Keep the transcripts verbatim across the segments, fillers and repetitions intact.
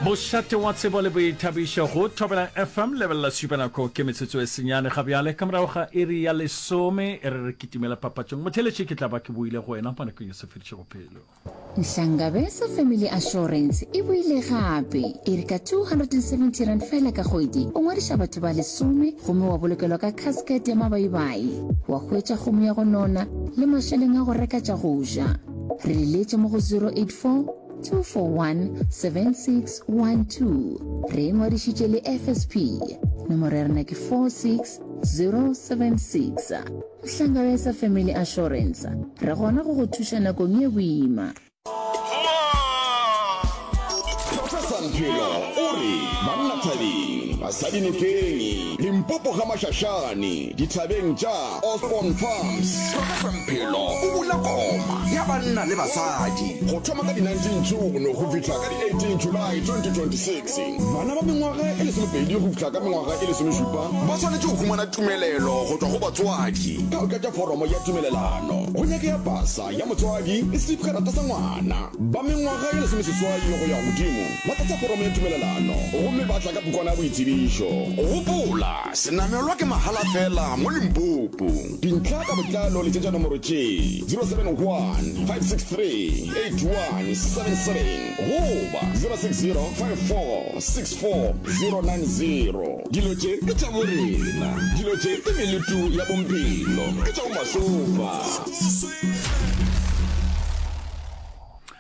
Mošate wa tsebo le boithabišo go Thobela F M. Lebelela šupanako, ke metsotso e senyane ga bjale ka morago ga iri ya lesome. E re re kitimela papatšong. Motheeletši, ke tla ba ke boile go wena mo nakong ye se fedišego pelo. Nhlangabeza Family Assurance e boile gape. E re ka two hundred and seventy rand fela ka kgwedi o ngwadiša batho ba lesome gomme wa bolokelwa ka casket ya mabaibai, wa hwetša kgomo ya go nona le mašeleng a go reka tša go ja. Re leletše mo go zero eight four two four one, seven six one two. Re e ngwadišitše le F S P. Nomoro ya rena ke four six zero seven six. Hlangabeza Family Assurance, re gona go go thuša nakong ye boima. Professor Mphelo o re banna thabeng, basadi nokeng, Limpopo ga Mashashane, dithabeng tša Osborne Farms. Professor Mphelo o bula koma ya banna le basadi go thoma ka di nineteen June go fihla ka di eighteen July twenty twenty-six. Bana ba mengwaga e lesomepedi go fihla ka mengwaga e lesomešupa ba swanetše go humana tumelelo go tšwa go batswadi ka go tlatša foromo ya tumelelano. Go nyakega pasa ya motswadi le setifikarata sa ngwana. Ba mengwaga e lesomeseswai go ya godimo ba tlatša foromo ya tumelelano gomme ba tla ka pukwana ya boitsebišo. Gopola, senamelwa ke mahala fela mo Limpopo. Dintlha ka botlalo letšetša nomoro tše zero seven one, five six three, eight one seven seven goba zero six zero, five four six four, zero nine zero. Dilo tše ke tša borena, dilo tše ke melutu ya bomphelo, ke tša bomasopa.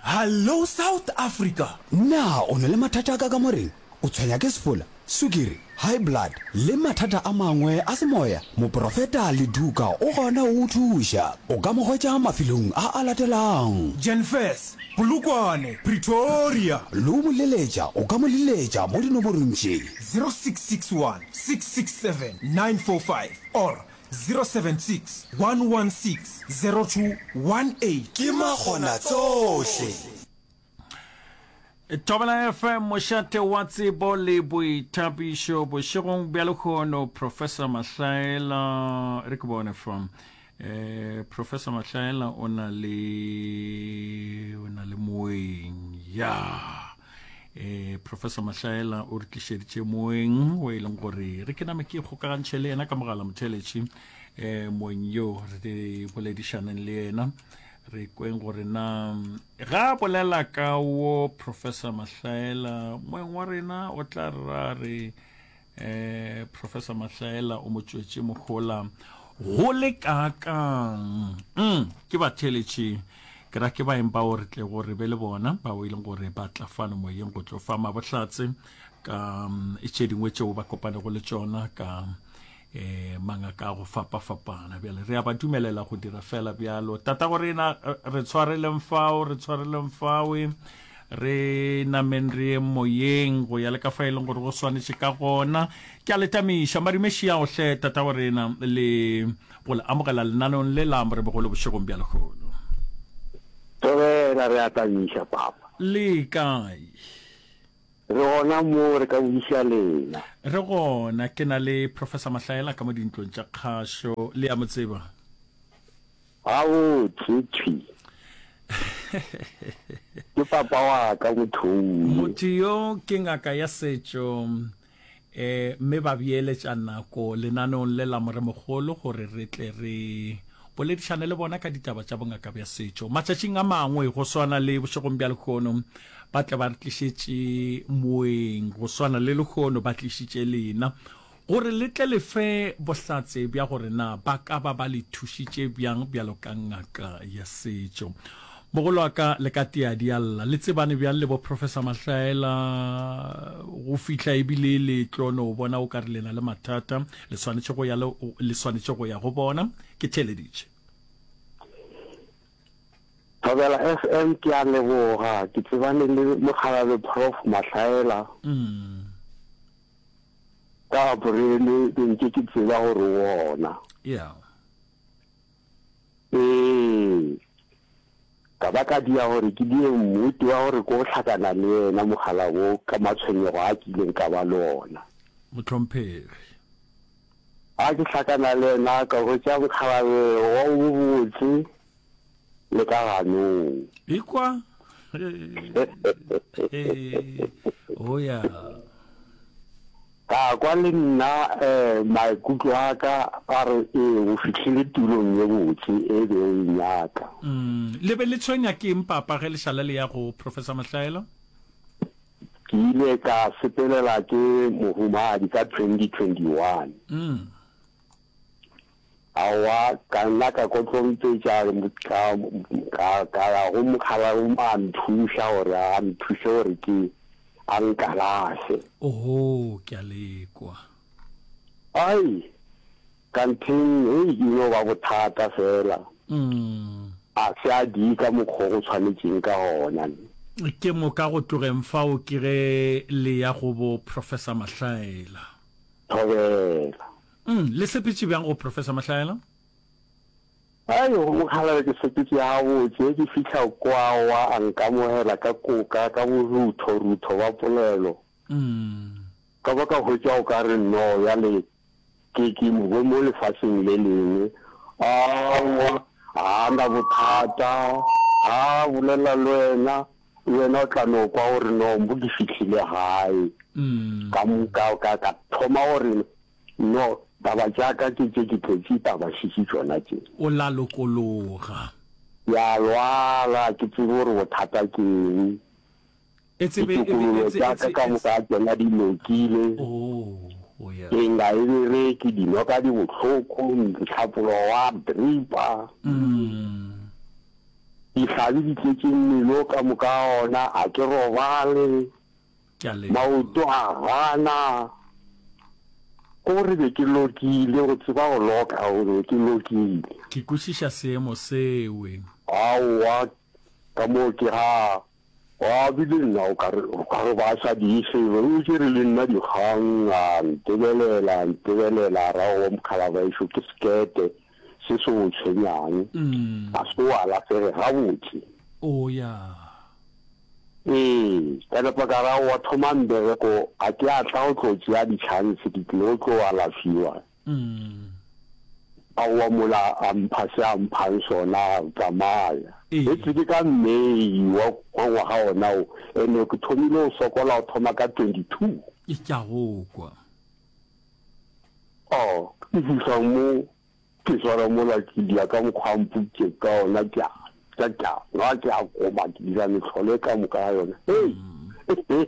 Hallo South Africa! Na o na le mathata a ka kamoreng? O tshwenya ke sefola, sukiri, high blood le mathata a mangwe a semoya? Moprofeta Leduka o gona go go thuša. O ka mo hwetša mafelong a a latelang. Jenfes, Polokwane, Pretoria. Le go mo leletša o ka mo leletša mo dinomorong tše. zero six six one six six seven nine four five or zero seven six one one six zero two one eight. Ke makgonatsohle. Thobela F M, mošate wa tsebo le boithabišo. Bošegong bja lehono Professor Mahlaela, re ke bone fa, eh Professor Mahlaela o na le o na le moeng ya eh Professor Mahlaela o re tlišeditše moeng o e leng gore re ke name ke kgokagantšhe le yena ka mogala. Motheletši, eh moeng yo re boledišaneng le yena, re kweng gore na ga a bolela ka wo Professor Mahlaela, moeng wa rena o tla ra re eh Professor Mahlaela o mo tšwetše mohola go le kakang. mm, ke batheletši, ke ra ke baeng bao re tle gore be le bona bao e leng gore ba tla fano moyeng go tlo fa mabohlatse ka mm, tše dingwe tšeo ba kopanego le tšona ka eh mangaka a go fapa-fapana. Bjale re a ba dumelela go dira fela bjalo. Tata go rena, re tshwareleng fao, re tshwareleng fawe, re nameng re ye moyeng go ya le ka fa e leng gore go swanetše ka gona. Ke a letamiša marimeši ao hle, tata go rena, le go le amogela lenaneong le la Morebogolo bošegong bja lekgono. Thobela, re a tamiša, papa. Le kae? Re gona mo, re ka buša lena? Re gona. Ke na le Professor Mahlaela ka mo dintlong tša kgašo. Le ya mo tseba? Gabotse thwi. Ke papa wa ka motho. Motho yo ke ngaka ya setšo, eh mme ba beeletša nako lenaneong le la Moremogolo gore re tle re boledišane le bona ka ditaba tša bongaka bja setšo. Matšatšing a mangwe, go swana le bošegong bja lehono, ba tle ba re tlišetše moeng, go swana le lehono ba tlišitše lena gore le tle le fe bohlatse bja gore na ba ka ba ba le thušitše bjang bjalo ka ngaka ya setšo. Mogolo wa ka, le ka tea di alla, le tsebane bjang le bo Professor Mahlaela go fihla ebile le tlo no bona o ka re le na le mathata, le swanetše go ya le, le swanetše go ya go bona? Ke theeleditše. Thobela F M, ke a leboga. Ke tsebane le mokgalabje Prof Mahlaela mm. ka Aprele, be nke ke tseba gore o gona. Yeah ee, ka ba ka dia gore ke die mmuti wa gore ko hlakana le yena mogala wo ka matshwenyego a kileng ka ba le ona. Mohlomphegi. A ke hlakana le yena, ka hwetša mokgalabe wa o bobotse le ka ganong. Ekwa. O ya. Ka kwa le nna um maikutlo a ka a re ee o fihlile tulong ye botse e be o e nyaka. Mm. Le be le tshwenya ke eng papa ge le šala le ya go Professor Mahlaela? Ke ile ka sepelela ke mohumagadi ka twenty twenty one. Mm. Aowa, ka nna ka kotlompetša ka, ka, ka ya go mokgalabje a nthuša gore a nthuše gore ke a nkalafe. Oho, ke a le kwa. Ai, kantheng, hei, e no ba bothata feela. Mm. A se a die ka mokgwa o go tshwanetšeng ka gona. Ke moka go tlogeng fao ke ge le ya go bo Professor Mahlaela. Thobela. Mm, le sepetše bjang go Professor Mahlaela? Ai, go mokgalabje ke sepetše gabotse, ke fihla kwa wa a nkamogela ka koka, ka borutho-rutho ba polelo. Mm. Ka ba ka hwetša o ka re no bjale ke, ke mo, mo lefaseng le lengwe. Aowa, ga a na bothata, ga a bolela le wena, le wena o tla no kwa gore no mo ke fihlile gae. Mm. Ka, ka, ka, ka thoma gore no, taba tša ka ke tše ke tletše taba šetše tšona tše. O la lokologa. Ke a lwala, ke tsebe gore bothata ke eng. E tsebe, e be, Ditokololo e tse, tša e ka tse, ka e moka tšona di lokile. Oh, oh ya. Ke nga e bereke, dinoka di bohloko, mohlapologo wa dripa. Mm. Dihlabi di tletše mmele o ka moka ga ona, a ke robale. Ke a leboga. Maoto a gana. Ko re be ke lokile, go tseba go loka, go be ke lokile. Ke kwešiša seemo sewe. Aowa, ka moo ke ga, wa bile nna o ka re, o ka re ba sa di selo, o tšere le nna dikgang, a ntebelela, a ntebelela, a ra owa mokgalabešo ke sekete se se o tshwenyang, a se o alafege gabotse. O ya. Ee, ka napa ka ra owa thoma mbereko, ga ke a tla go tlo tšea di-chance, ke tlile go tlo alafiwa. Aowa mola a mpha se a mphang sona, a tsamaya. Ee. Ge ke ka May wa wa ngwaga ona wo, ene ke thomile go sokola go thoma ka twenty two. Ke a go kwa. Oh, ke fihla mo, ke swara mola ke dia ka mokgwa a mpoditše ka ona, ke a ja, ke a nwa, ke a koma, ke dira mehlolo e ka moka ga yona. Hei! Hei!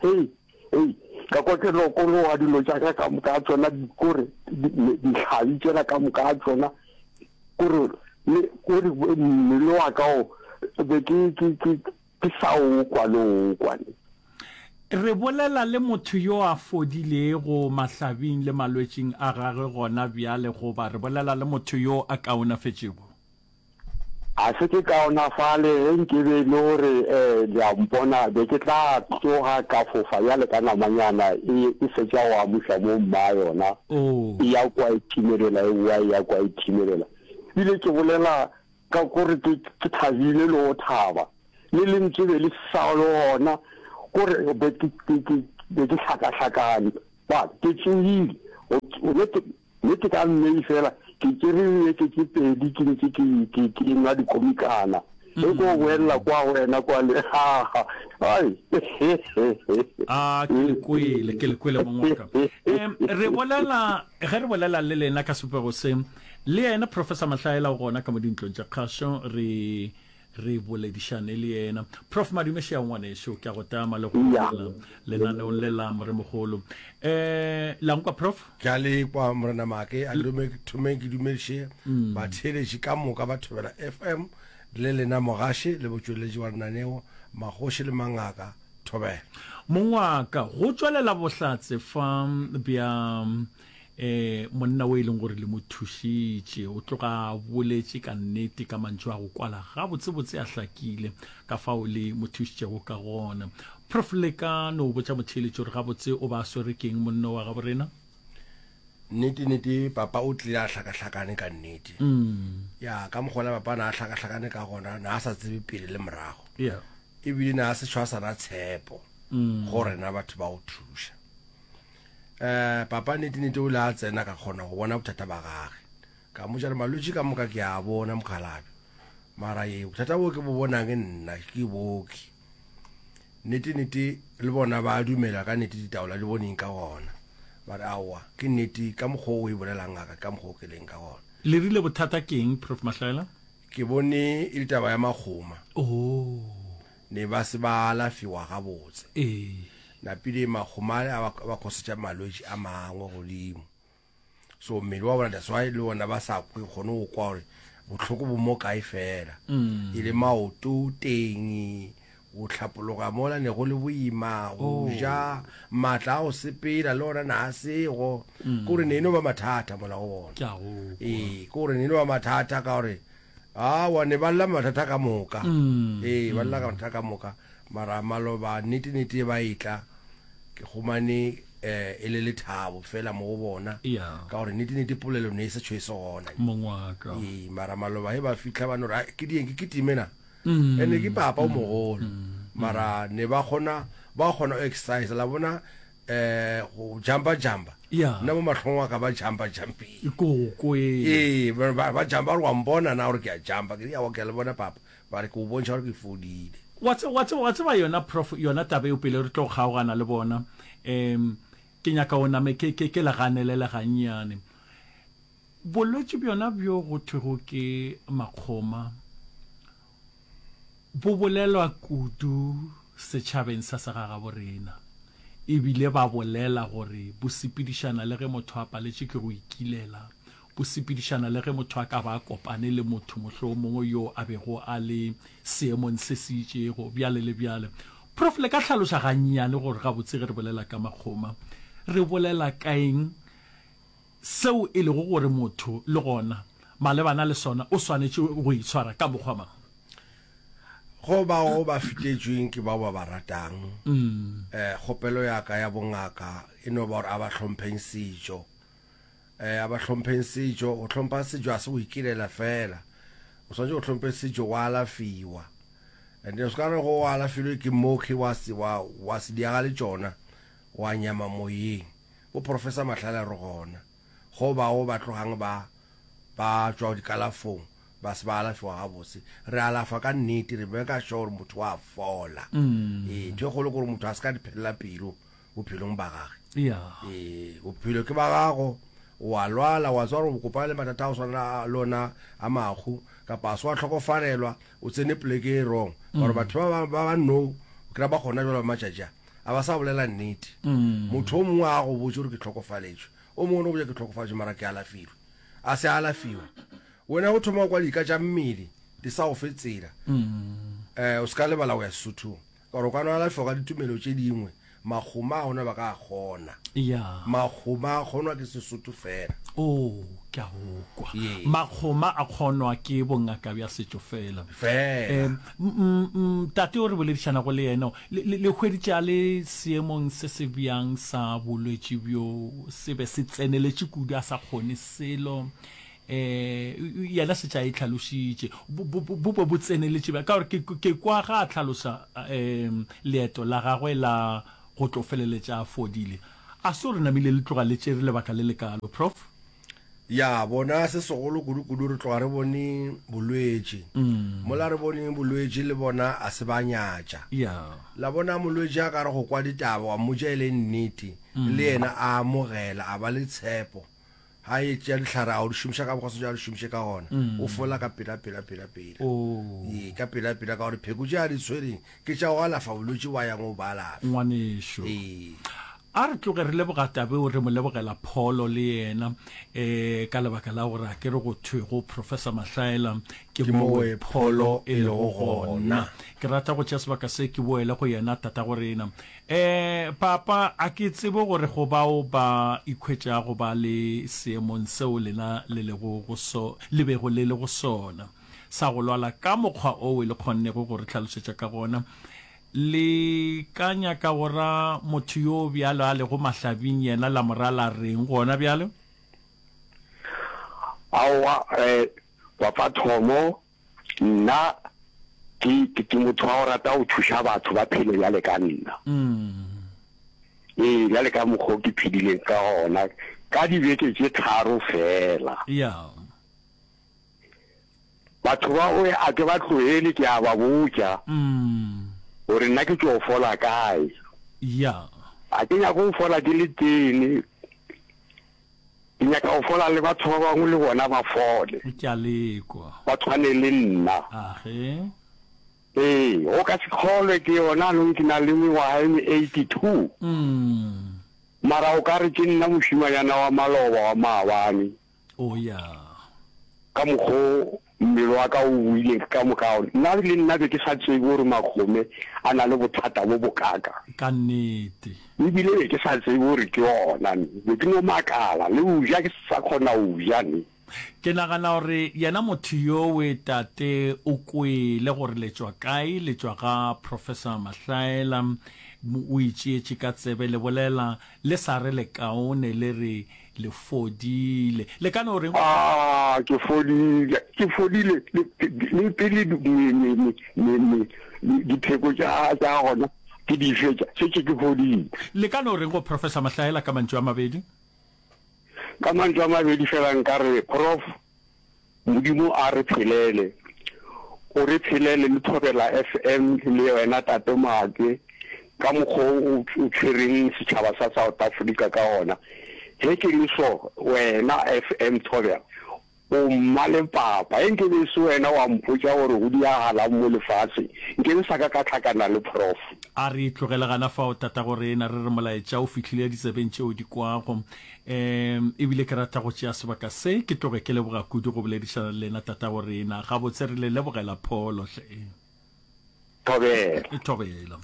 Hei! Hei! Ka kwa ke lokologa dilo tša ka ka moka ga tšona, kore dihlabi tšela ka moka ga tšona, kore le kore mmele wa ka o be ke ke ke ke sa o kwa le o kwa ne. Re bolela le motho yo a fodilego mahlabing le malwetšing a gagwe gona bjale goba re bolela le motho yo a kaonafetšego? A se ke kaonafale, ge nke be e le gore le a mpona, be ke tla tsoga ka fofa bjale ka namanyana e, e fetša go amuša mo mma yona, e ya kwa e thimelela, e boa e ya kwa e thimelela. Ebile ke bolela ka gore ke, ke thabile le go thaba, le lentswe be le sa le gona, kore be ke, ke, ke, be ke hlakahlakane. Ba, ke tsogile, go, go, ke, Mme ke ka May fela, ke tšere dibeke tše pedi ke ntše ke, ke, ke nwa dikomikana. Ge ko boelela kwa go wena kwa le, ha, ha, ai. A, ke le kwele, ke le kwele mong wa ka. Um, re bolela, ge re bolela le lena ka sebopego se, le yena Professor Mahlaela o gona ka mo dintlong tša kgašo, re, re boledišane le yena. Prof Madume Šea ngwanešu, ke a go tama le go amogela lenaneong le la Moremogolo. Eh, la nkwa Prof? Ke a le kwa Morena Maake, a ke thomeng ke dumediše batheeletši ka moka ba Thobela F M le lena mogaši le botšweletši wa lenaneo Magoši le Mangaka. Thobela. Mong wa ka, go tšwelela bohlatse fa bja E, monna o e leng gore le mo thušitše, o tloga a boletše ka nnete ka mantšu a go kwala gabotsebotse a hlakile, ka fao le mo thušitšego ka gona. Prof. Le ka no botša motheeletši gore gabotse o ba a swere ke'ng monna wa gabo rena? Nnete, nnete, papa o tlile a hlakahlakane ka nnete. Ya, ka mokgwa ola papa na a hlakahlakane ka gona, na a sa tsebe pele le morago. Yeah. Ebile na a se tšho a sa na tshepo go rena batho ba go thuša. Eh, papa nnete-nnete o ile a tsena ka kgona go bona bothata ba gage. Ka mmotša re malwetši ka moka ke a bona mokgalabje. Mara ye bothata bo ke bo bonang nna ke boki. Nnete nnete le bona ba dumela ka nnete ditaola di boneng ka gona. Ba re aowa ke nnete ka mokgwa o e bolelang ngaka ka mokgwa o ke leng ka gona. Le rile bothata ke eng Prof Mahlaela? Ke bone e le taba ya makgoma. Oh. Ne ba se ba alafiwa gabotse. Ee. Napile makgoma ale a ba, a ba khosetša malwetši a mangwe godimo. So mmele wa bona that's why le bona ba sa kwe kgone go kwa gore bohloko bo mo kae fela. Mm. E le maoto teng go hlapologa mola ne go le boima go Oh. ja maatla a go sepela le ona na a sego. Mm. Ke gore ne e no ba mathata mola go bona. Ke a go kwa. Ee, ke gore ne e no ba mathata ka gore awa ne ba lla mathata ka moka. Mm. Ee, ba lla ka mathata ka moka. Mara maloba nnete nnete ba etla ke humane eh e le lethabo fela mo go bona. Yeah. Ka gore nnete nnete polelo ne e se tšho e se gona. Mong wa ka. Ee, mara maloba he ba fihla ba no re, "Ai, ke dieng ke kitime na." Mm. Ene ke papa o mogolo. Mara ne ba kgona ba kgona go exercise la bona eh go jumpa jumpa. Yeah. Nna mo mahlong wa ka ba jumpa jumping. Ko ko e. Ee, ba ba ba jumpa gore wa mpona na gore ke a jumpa. Ke re aowa ke a le bona papa. Ba re ke o bontšha gore ke fodile. Wa tse- wa tse- wa tseba yona prof yona taba eo pele re tlo kgaogana le bona um ke nyaka o name ke ke ke le ganelele gannyane bolwetši bjona bjo go thwego ke makgoma bo bolelwa kudu setšhabeng sa segagabo rena ebile ba bolela gore bo sepedišana le ge motho a paletše ke go ikilela bo sepedišana le ge motho a ka ba a kopane le motho mohlomongwe yo a bego a le seemong se se itšego bjale le bjale. Prof le ka hlaloša gannyane gore gabotse ge re bolela ka makgoma re bolela ka eng seo e lego gore motho le gona malebana le sona o swanetše go itshwara ka mokgwa mang? Go bao ba fetetšweng ke bao ba ba ratang, Mm. eh kgopelo ya ka ya bongaka e no ba gore a ba hlompheng setšo. Eh a ba hlompheng setšo, go hlompha setšo a se go ikilela fela. O swanetše go hlomphe setšo wa alafiwa. And o se ka re go alafilwe ke mooki wa se wa wa se diaga le tšona wa nyama moyeng. Bo Professor Mahlale re gona. Go bao ba tlogang ba ba tšwa dikalafong ba se ba alafiwa gabotse. Re alafa ka nnete re beka sure gore motho wa fola. Mm. Ee, ntho e kgolo ke gore motho a se ka di phelela pelo bophelong ba gage. Yeah. Ee, bophelo ke ba gago wa lwala wa tswa gore o kopana le mathata a go swana le ona a mahu kapa a se wa hlokofalelwa o tsene poleke e wrong. Ka gore Mm. batho ba ba ba ba no o kry-a ba gona jalo ba matšatši a a ba sa bolela nnete. Mm. Motho o mongwe a go botse gore ke hlokofaletswe, o mongwe o no botša ke hlokofaletswe mara ke alafilwe, a se alafiwe. Wena o thoma go kwa dika tša mmele di sa go fe tsela. Mm. Eh o se ka lebala go ya Sesothong ka gore o ka no alafiwa ka ditumelo tše dingwe makgoma a ona ba ka a kgona. Yeah. Makgoma a kgonwa ke Sesotho fela. Oh, ke a go kwa. Ee. Makgoma a kgonwa ke bongaka bja setšo fela. Fela. Um, mm, mm, tate o re boledišanago le yena, le, le, le hweditše a le seemong se se bjang sa bolwetši bjo se be se tseneletše kudu a sa kgone selo. Eh yena setša e hlalošitše bo bo bo bo bo tseneletše bjang? Ka gore ke ke kwa ga a hlalosa um leeto la gagwe la go tlo feleletša a fodile. A se gore namile le tloga le tšere lebaka le lekalo, Prof? Ya bona se segolo kudu-kudu re tloga re bone bolwetši. Mm. Mola re boneng bolwetši le bona a se ba nyatša. Yeah. La bona molwetši a ka re go kwa ditaba wa mmotša e le nnete, Mm. le yena a amogela a ba le tshepo. Ha e tšea dihlare a o di šomiša ka mokgwa swanetše a di šomiše ka gona, Mm. o fola ka pela pela pela pela. Oh. Ee, ka pela pela ka gore pheko tše a di tshwereng ke tša go alafa bolwetši wa yang o ba alafa. Ngwanešu. Ee. A re tloge re leboga Tabeo re mo lebogela pholo le yena eh ka lebaka la gore a ke re go thwe go Professor Mahlaela ke Ke mowe mowe pholo pholo e e lego lego gona. gona. Ke rata go tšea sebaka se ke boele go yena tata go rena. Eh papa a ke tsebe gore go bao ba ikhwetšago ba le seemong seo lena le lego go so le bego le le go sona sa go lwala ka mokgwa o e le kgonnego go re hlalosetša ka gona. Le ka nyaka go ra motho yo bjalo a lego mahlabing yena la mo ra la reng gona bjalo? Aowa, eh, papa Thomo, nna ke, ke, ke motho wa go rata go thuša batho ba phele bjale ka nna. Mm. Ee, bjale ka mokgwa o ke phedileng ka gona, ka dibeke tše tharo fela. Yeah. Batho ba o a ke ba tlohele ke a ba botša. Mm. Gore nna ke tšo fola kae. Ya. A ke nyake go fola ke le tee, ke nyaka go fola le batho ba bangwe le bona ba fole. Ke a le kwa. Ba tshwane le nna. Age. Ee, o ka se kgolwe ke yona anong ke na le mengwaga e me eighty two. Mm. Mara o ka re ke nna mošimanyana wa maloba wa maabane. Oh ya. Ka mokgo mmele wa ka o boileng ka moka, nna le nna be ke sa tsebe gore Makgome a na le bothata bo bokaka. Ka nnete. Ebile be ke sa tsebe gore ke ona ne. Be ke no makala, le go ja ke sa kgona go ja ne. Ke nagana gore yena motho yowe tate o kwele gore le tšwa kae, le tšwa ga Professor Mahlaela, o itšeetše ka tsebe le bolela le sa re le kaone le re le fodile. Le ka no reng? Ah, ke fodile, ke fodile le, le pele me, me, me, me, me, dipheko tša, tša gona ke di fetša, šetše ke fodile. Le ka no reng go Professor Mahlaela ka mantšu a mabedi? Ka mantšu a mabedi fela nka re, Prof, Modimo a re phelele. O re phelele le Thobela F M le wena Tate Maake ka mokgwa o o tshwereng setšhaba sa South Africa ka gona. Ge ke le so, wena F M Thobela, o mma le papa. Ge nke be e se wena wa mpotša gore go diagalang mo lefaseng, nke be sa ka ka hlakana le Prof. A re tlogele gana fao, Tatagorena, re re molaetša o fihlile ditsebeng tšeo di kwago. Um e bile ke rata go tšea sebaka se ke tloge ke leboga kudu go boledišana le lena, Tatagorena. Gabotse re le lebogela pholo hle. Thobela. Thobela.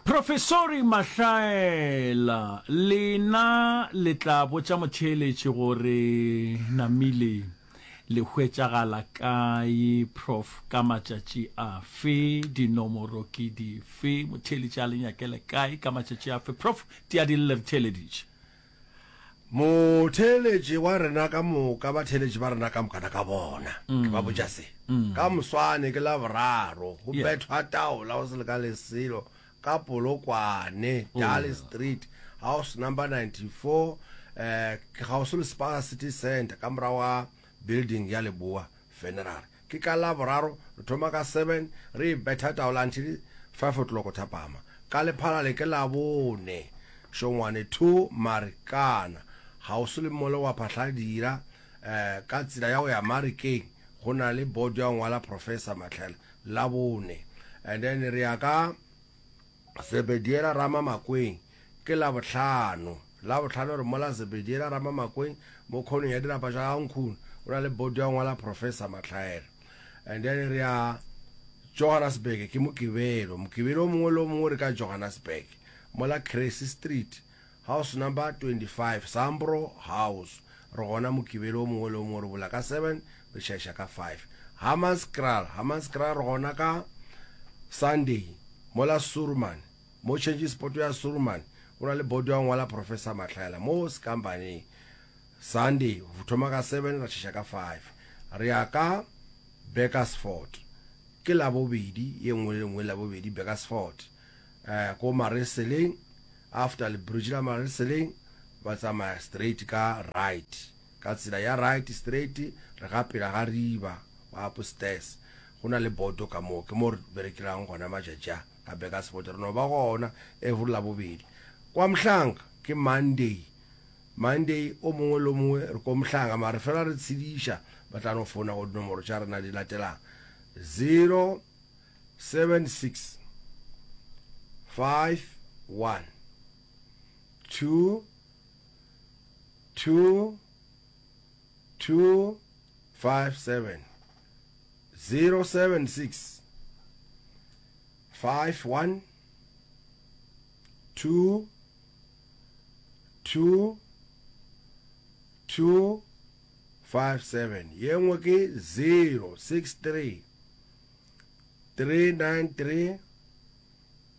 Profesori Mahlaela, lena le tla botša motheeletši gore namile le hwetšagala kae, Prof, ka matšatši afe, dinomoro ke dife, motheeletši a le nyakele kae, ka matšatši afe. Prof, tia di lle re theeleditše. Motheeletši wa rena ka moka, batheeletši ba rena ka mokana ka bona, ke ba botša se. Ka moswane ke Laboraro, go bethwa taola go se le ka leselo ka Polokwane, Darley Street, house number ninety-four, eh, ke kgauswi le Spar City Centre, ka morago ga building ya Leboa Funeral. Ke ka Laboraro, re thoma ka seven, re e betha taola until five o'clock thapama. Ka Lephalale ke Labone, Šongwane two, Marikana, kgauswi le mall wa Phahladira, eh, ka tsela ya go ya Marikeng, go na le board ya go ngwala Professor Matlhela, Labone. And then re ya ka Zebediela Ramamakweng, ke Labohlano. Labohlano re mola Zebediela Ramamakweng mo khoneng ya dirapa tša ga Nkhuna, go na le board ya go ngwala Professor Matlhaela. And then re ya Johannesburg ke Mokibelo. Mokibelo o mongwe le o mongwe re ka Johannesburg, mola Cressy Street, house number twenty-five, Sambro House. Re gona Mokibelo o mongwe le o mongwe, re bula ka seven, re tšhaiša ka five. Hammanskraal, Hammanskraal re gona ka Sunday, mola Surman, mo change spot ya Surman, go na le board ya go ngwala Professor Matlhaela mo Skambaneng. Sunday, go thoma ka seven, ra tšhaiša ka five. Re ya ka Burgersfort, ke Labobedi ye nngwe le nngwe, Labobedi Burgersfort, eh, ko Mareseleng, after le bridge la Mareseleng, ba tsamaya straight ka right, ka tsela ya right straight, re ga pela ga riba wa upstairs, go na le boto ka moo, ke mo re berekelang gona matšatši a ka Burgersfort. Re no ba gona every Labobedi. Kwa Mhlanga ke Monday, Monday o mongwe le o mongwe re ko Mhlanga, mare fela re tshediša, ba tla no founa go dinomoro tša rena di latelang: zero seven six five one two two two five seven, zero seven six five one two two two five seven. Ye nngwe ke zero six three three nine three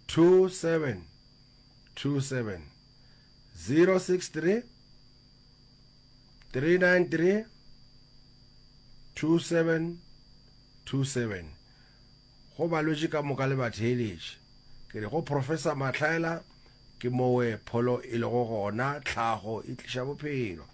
two seven two seven, zero six three three nine three two seven two seven. Go balwetši ka moka le batheeletši, ke re go Professor Matlhaela ke mowe pholo e lego gona, tlhago e tliša bophelo.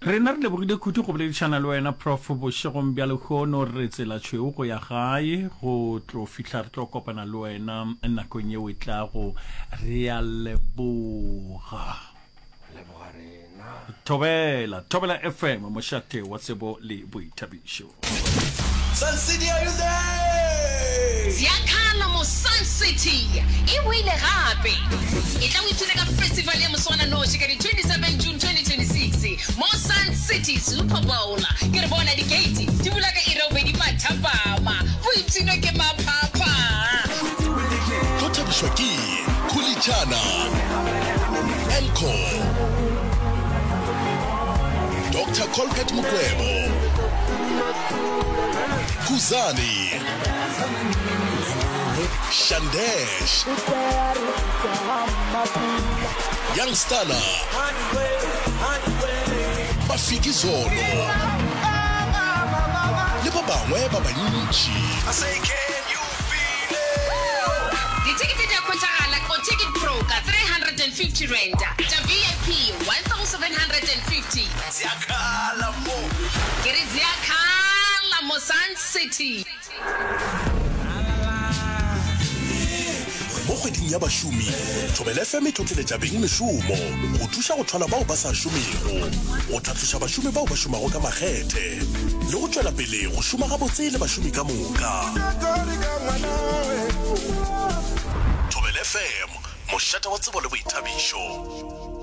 Rena re lebogile kudu go boledišana le wena Prof bošegong bja lehono. Re tsela tšhweu go ya gae go tlo fihla re tlo kopana le wena nakong yeo e tlago. Re a leboga. Leboga rena. Thobela, Thobela F M, mošate wa tsebo le boithabišo. Sun City, are you there? Ziakhala mo Sun City e boile gape. E tla o ipshine ka festival ya moswananoši ka di twenty seven June twenty twenty-six mo Sun City Super Bowl. Ke re bona di-gate di bula ka iri ya bobedi mathapama. Boipshino ke maphapha. Tlo thabišwa ke Khuli Chana, Elko, Doctor Colbert Mukwevho, Khuzani, Shandesh, Young Stunna, Mafikizolo le ba bangwe ba bantši. Dithekete di a hwetšagala go Ticket Pro ka three hundred and fifty rand, tša V I P one thousand seven hundred and fifty. Ziyakhala mo. Ke re ziakhala mo Sun City. Mo kgweding ya bašomi, Thobela F M e tlotleletša beng mešomo go thuša go thwala bao ba sa šomego, go tlhatloša bašomi bao ba šomago ka makgethe le go tšwela pele go šoma gabotse le bašomi ka moka. Thobela F M, mošate wa tsebo le boithabišo.